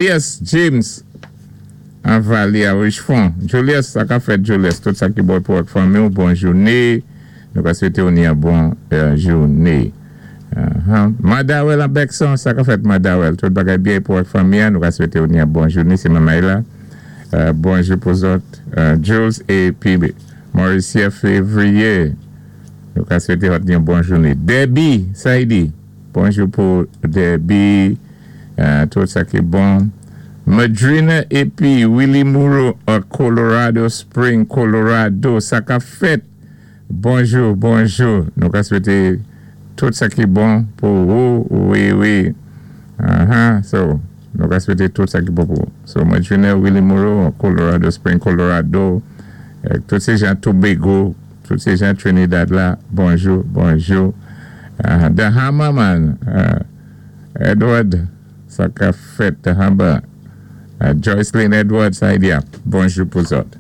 Julius James an Vali a Richfond. Julius, sa ka fèt, Julius? Tout sa ki bon pou ak fanmi ou, bon jouné. Nou ka swété ou ni an bon jouné. Madawel an Bèkson, sa ka fèt, Madawel? Tout bagay byen pou ak fanmi an, nou ka swété ou ni an bon jouné. Sé Mamay la. Bonjou pou zòt. Jules épi Mauricia Février. Nou ka swété zòt ni an bon jouné. Debbie Saidi. Bonjou pou Debbie. Tout sa ki bon. Madrina épi Willie Moreau a Colorado Spring, Colorado. Sa ka fèt? Bonjou, bonjou. Nou ka swété tout sa ki bon pou ou. Wi. So, nou ka swété tout sa ki bon pou ou. So, Madrina, Willie Moreau a Colorado Spring, Colorado. Tout sé jan Tobago, tout sé jan Trinidad la. Bonjou, bonjou. The Hammer Man. Edward, sa ka fèt, Hamba? Joycelyn Edward, sa idea. Bonjou pou zòt.